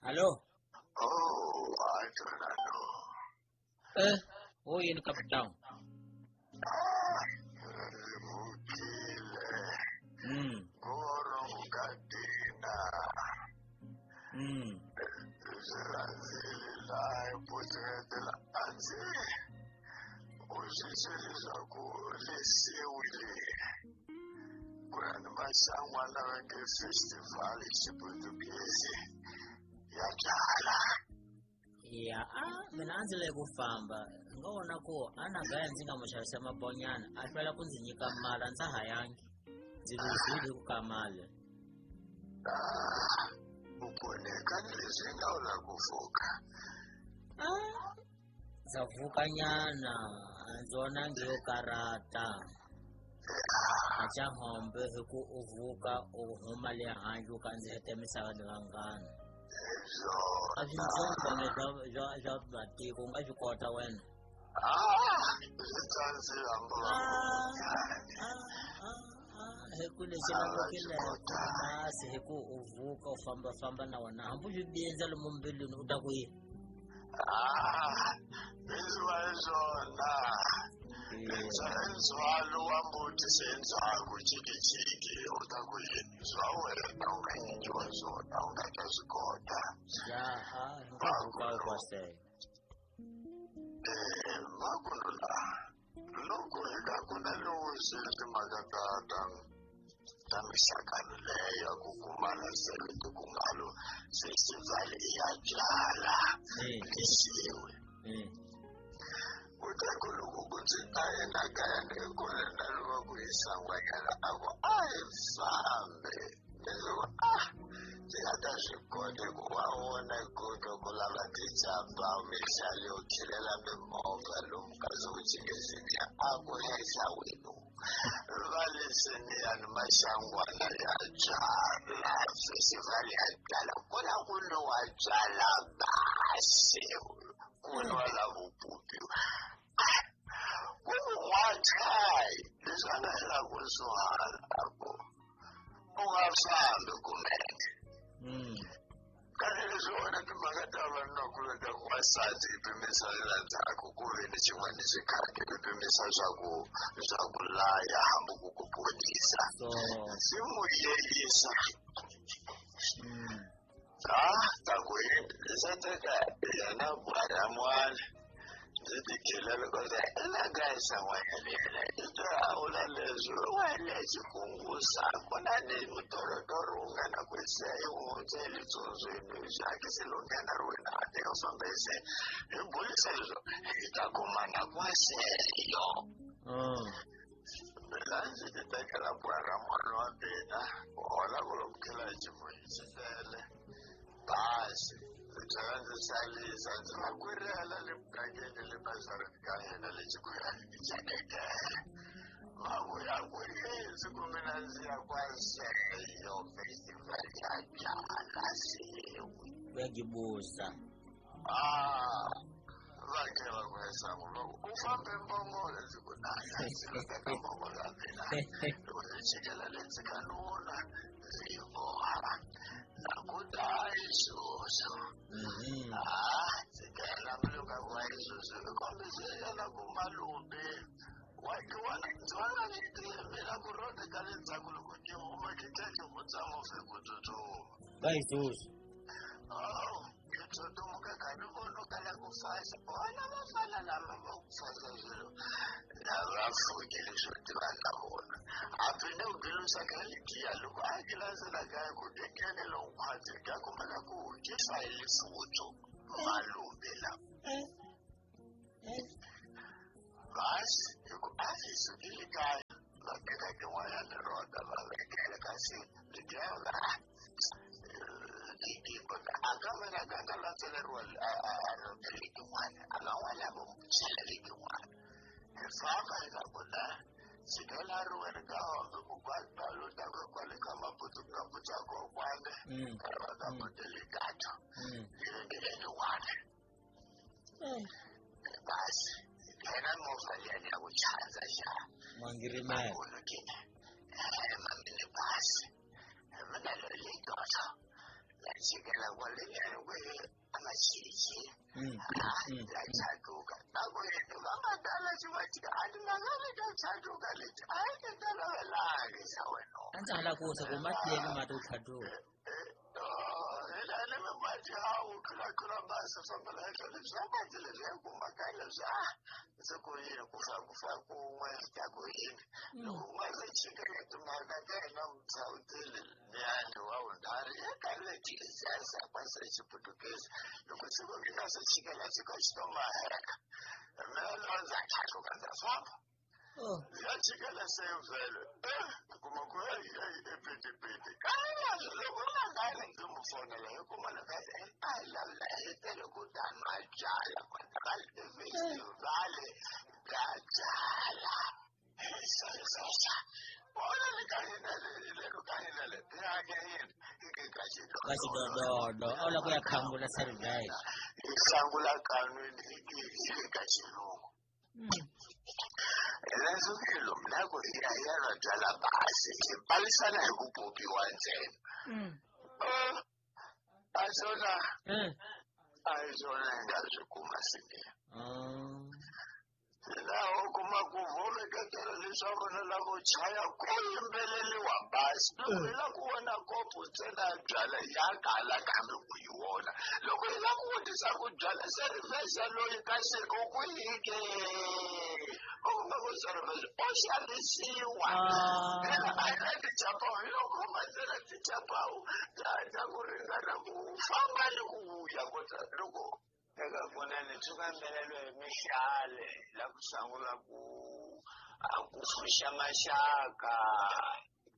Hallo? Oh, I don't know. Wo yini captain? Ah, rivukile. Goro ngadina. Swi rhandzile laha hi phutsuketela a ndzi u swi swi leswaku lesiwile ku ya ni maxangwana va nge festival hi xiputukezi ya byala. Ya, a mina a ndzi le ku famba nga vona ku a na gaya ndzi nga mu xavisa mabonyana a hlwela ku ndzi nyika mali a ndza ha yangi ndzi luzile hi ku ka mali. Ah, u pfuneka ni leswi nga u la ku pfuka. Ndza pfukanyana a ndzi vonangi yo karata a xa hombe hi ku u vuka u huma le handle u kandziheta misava ni vanghana. A swintsongo swa matiko u nga swi kota wena. Ah, swi tsandzile hambi va Hi ku lexi lavekile kasi hi ku u vuka u fambafamba na wena hambi u swi bindza lomu mbilwini u ta ku yini. Ah, leswi hi swona ndzhwalo wa mbuti se ndzhaku jikijiki u ta ku yini swa wena u nga nyikiwa swona u nga ta swi kota. Ya, a hinkwako kwasele. Makuno la loko hi ka ku na lowu swi timhaka ta ta mixakano leyo ya ku kumana sele tikungalo festival ya byala lesiwe. Kutaku loko ku ndzi ta yena kaya ni kule na loko ku yisa n'wanyana a ku a hi fambe ndzi ku a ndzi nga ta swi kota ku wa vona ku twa ku lava tijamba mixali yo khilela mimovha lomu ka swo a ku henhla wenu va leswiniyani maxangwana ya byala festival ya byala ku na ku nwiwa byala basi ku nwa la vupupi ku n'wachayi leswi a nga hela ku suhala ku u nga fambi kumene. Kambe leswi wona timhaka ta vanunakulu ta n'wansati i pimisa la ndzhaku ku ve ni xin'wana xikhati i pimisa swa ku laya hambi ku ku ponisa swi n'wi yeyisa. Ah, ta ku yini se teka yena bwara mwana ndzi tikhelela kota ina n'wanyana yena i twa a vula leswi wa lexi kungusa ku na ni mutorotoro wu nga na ku se yi hundze litsondzweni xakisi lo nghena ri wena a teka famba se hi bulisa leswo hi ta kumana kwaseyo. Mina ndzi ti tekela bwara mwana wa mina ku hola ku loko khela hi ximunhu xi tele basi ndzi tlhela ndzi salisa ndzi va kwirela le mugangeni le bazareni ka hina le xikhuyani xakekele va vuya ku yini ku mina ndzi ya kwaseyo festival ya byala siwi. Uyagibuza. Ah, va ke va ku esangu loko u fambe mbongolo ndzi ku naya ndzi lo teka mbongolo ya mina loko ndzi chikela le ndzi ka nuna ndzi yi boha na ku ta isusu. Ah, ndzi nghena mbilu ka ku isusu i kombise yena ku malume wa ki wona ndzi vona ni mina ku rode ka le ndzhaku loko ki huma ki tlhe ki hundza movha hi ku tsutsuma. Ka isusu. Oh, ngithuthumuka kani vona kala ku fasa vona vafana lava va ku fasa swilo lava fukile swo tiva na vona hambi ni ku gilusa ka ligiya loko a gilasela kaya ku tekene lonkhwatsi ka kumeka ku ki fayili futso malume lava. Basi hi ku a hi sukile kaya va teka tin'wanyana rota va vekela kasi ligiya va a ka mina ka nga landzeleriwa a letin'wana a nga n'wana vo chela letin'wana hi famba hi nga ku na chikela ri wena ka hombe ku kwatalo ta ku kwale ka maputu ka putsa kokwana va ka mutelegato letin'wana basi yena movha liyani ya ku chanza xa Mangirimela. Mamini basi mina lolitoto la chikela kwale nyangwe amachichi ndachaduka nakuyini vamadala chivatika andinangani ndachaduka leti aindindalavelangisa wena A ndza ha lava ku wisa ku mati yini mati u tlhaduka. Ina mati hawu tlula basi fambela henhla leswi a mati leswi ya kumaka leswi a ndzi ku yini ku fa ku fa kun'we ta ku yini loko u nga se chikela timhaka ta yena mutshawuteli liyani wa vunharhu eka leti kwase xiputukezi loko siku mi nga se chikela xiko xi to maheka mina lowa ndza tlhaluka ndza famba ya chikela se vhele kuma ku epetepete kaya loko nga ngani ndzi mu fonela hi kuma loko a hi lavula hi tele ku ta nwa byala kwata festival bya byala vona le ka hina le ka hina le ya yini ka Ka xidododo a wu lava ku ya khangula service. Hi hlangula kanwini hi ka xilungu. Leswi lomu na ku hi ya hi ya nwa byala basi hi palisana hi ku popiwa ntsena. A swona a hi swona hi nga swi kuma siniya. Laha u kuma ku voveketela leswaku na lavo chaya ku yimbeleliwa basi loko hi lava ku vona kopo ntsena ya byala ya kala kambe ku yi vona loko hi lava ku vutisa ku byala service loyi ka siku ku yike u kuma ku service o xavisiwa hina a hi na tichapawu hi lo khoma ntsena tichapawu ta ku ringana ku famba ni ku vuya kota loko eka kunene swi kambelelo hi mihlale la ku sungula ku a ku pfuxa maxaka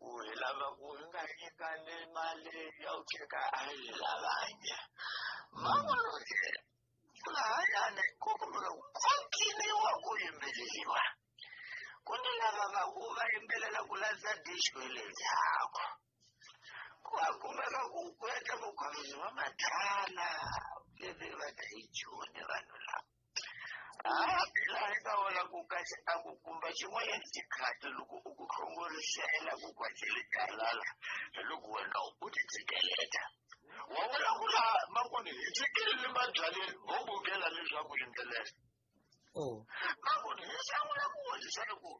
ku hi lava ku hi nga nyikani mali ya ku teka a hi lavangi man'wana lahayani ku kumeka ku ciniwa ku yimbeleriwa ku ni lava va ku va yimbelela ku landza disco le ndzhaku ku va kumeka ku ku endla vukhovisi va madala leti va ta yi joni vanhu lava laha hi nga vona ku kasi a ku kumba xin'wanyana xikhati loko u ku hlongorisela ku kwacele talala hi loko wena u ti tshikeleta wa vona ku laha makoni hi tshikelele mabyaleni ho bukela leswaku yimbelela makoni hi sungula ku vonisa ku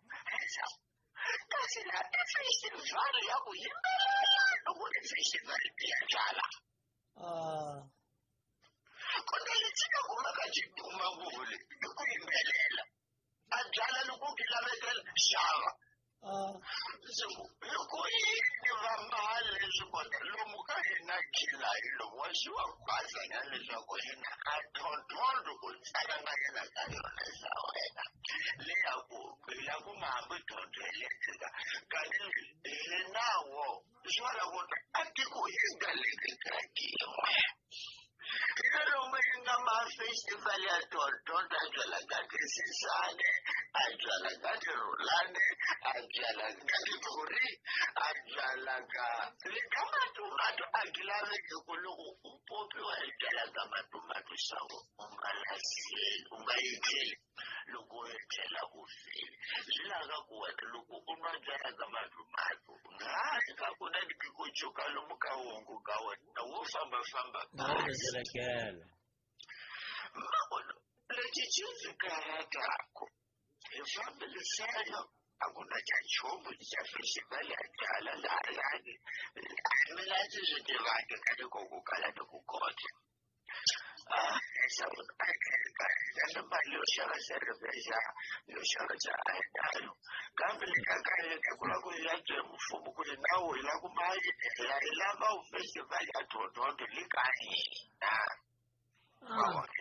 kasi laha i festival ya ku yimbelela loko i festival ya byala. Kona lexi nga kumaka xi duma ngopfu le i ku yimbelela a byala loko ku lavekela xava hi ku yini va mali leswi kota lomu ka hina khila hi lomu wa xiwa kwazanya leswaku hina a tlhontlhontlho ku tsala nga yena ka yona xa wena leya ku la ku nga hambi dyondzo hi letika kanti hi nawo swi vula ku a tiko hi nga leki ka yin'we hina lomu yi nga ma-festival ya tontonto a byala ka tisisane a byala ka tirhulane a byala ka tithori a byala ka le ka matumato a ti laveki ku loko u popiwa hi byala ka matumato xaku u nga lahleli u nga yi tlheli loko u yi tlhela u file swi lava ku wena loko u nwa byala ka matumato ngazi ka ku na ku lomu ka wongo ka wena wo fambafamba basi mavona lexi xi ndzi karhataku hi fambelisana a ku na xa nchumu xa festival ya byala lahayani mina ndzi swi tivangi ka ni ku kala ni ku kota na mali yo xava service yo xava xa a hi nayo kambe le ka ka ku lava ku ya bye mfumo ku ri nawu hi lava ku mali hi lava festival ya tlhontlhontlho le ka hina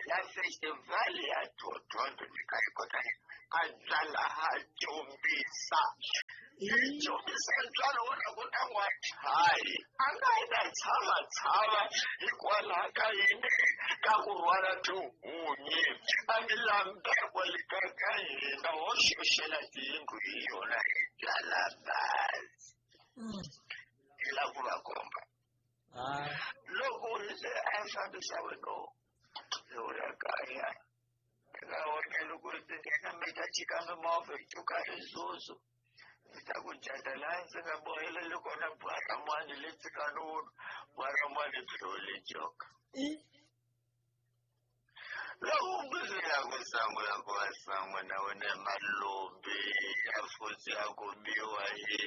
la festival ya tlhontlhontlho le ka hi kota a byala ha jombisa jombisa ntswalo wo na ku na n'wachayi a nga yi na tshava tshava hikwalaho ka yini ka ku rhwala tihunyi a mi lambekwa le ka ka hina ho xoxela tiyindlu hi yona hi byala bazi hi lava ku va komba loko se a fambisa wena u ya kaya eka wena loko ndzi nghena mi ta chika mimovha hi cuka rizuzu ndzi ta ku jata laha ndzi nga boheleli kona bwaramwani le tsikanunu Bwaramani tlhole joka. Loko mbuzela ku sangula ku va sanguna wena malombi ya futhi ya ku biwa hi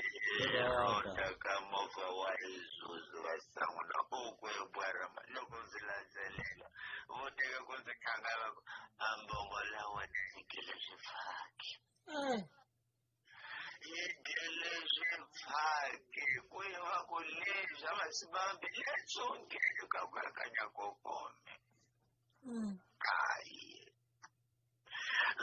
rota ka movha wa Isuzu va sanguna u ku bwarama loko ndzi landzelela vo teka ku ndzi tlanga va ku a mbongola wena yi gele swifaki yi gele swifaki ku yi va ku leswi a va sibambi letsongeni ka ku akanya kokome. Hayi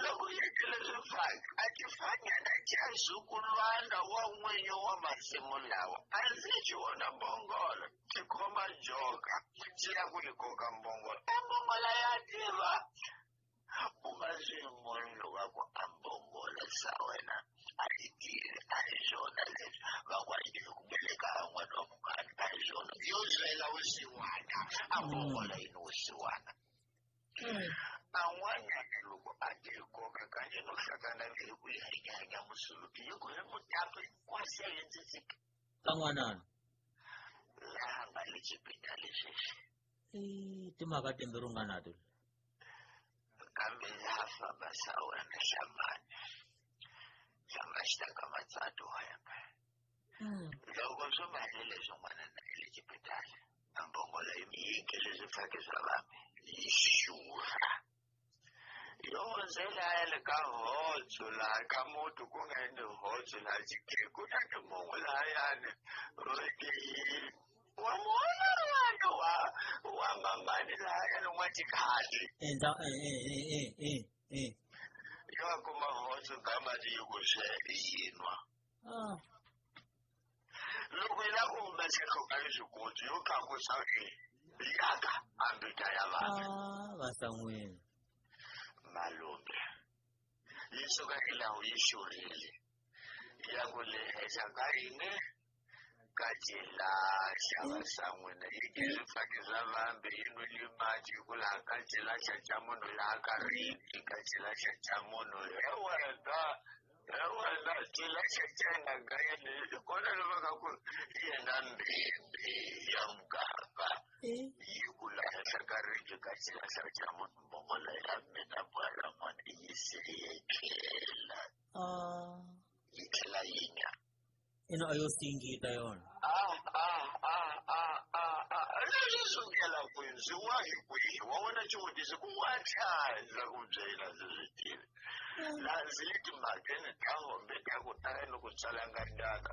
loko yi gele swifaki a ti fanyana xa zukulwana wa n'winyi wa masimu lawa a ndzi xi vona mbongolo xi khoma joka xi ya ku yi koka mbongolo a mbongola ya tiva u nga swi munhu wa ku a mbongola sa wena a yi tivi a hi swona leswi va ku a yi tivi ku beleka n'wana wa mukani a hi swona yo byela vusiwana a mbongola yi ni vusiwana. An'wanyana loko a ti koka kanye no hlangana hi ku hanyanya musuluki yi ku hi mutapi kwase hi ndzi tsika ka n'wanana laha nga le xibedhlele sweswi. Timhaka timbirhi u nga nato kambe ha famba sa wena hlamani hlamba xi ta ka matsatu wena loko swo mahele swin'wana na le xibedhlele a mbongola yi yike leswi fake swa vambe yi xurha yo hundzela ya le ka hotso laha ka muti ku nga endli hotso laha xikhe ku na timungu lahayani roke wa muona wa wa mamani lahayani wa tikhadi endla yo kuma hotso ka mati yi ku swe yinwa. Loko yi lava ku humesa hloka leswikulu yo tlakusa yaka ambita ya vanhu va san'wini malume yi suka ilawu yi xurile ya ku lehesa ka yini ka cilahla va san'wina yi ke swifaki swa vambe yi nwile mati hi ku laha ka cilahla xa munhu laha ka riki ka cilahla xa munhu he wena he wena cilahla xa yena ka yena hi kona lava ka ku yena mbimbi ya muganga yi ku lahla ka riki ka cilahla xa munhu mbongola ya mina bwala n'wana yi se yetlela yi tlhela yi nya ino a yo singita yona. Leswi sukela kwihi ndzi wa hi kwihi wa vona xivutiso ku wa tlhandla ku byela ndzi swi tivi laha ndzi le timhakeni ta hombe ta ku tala ni ku tsalanga ndaka.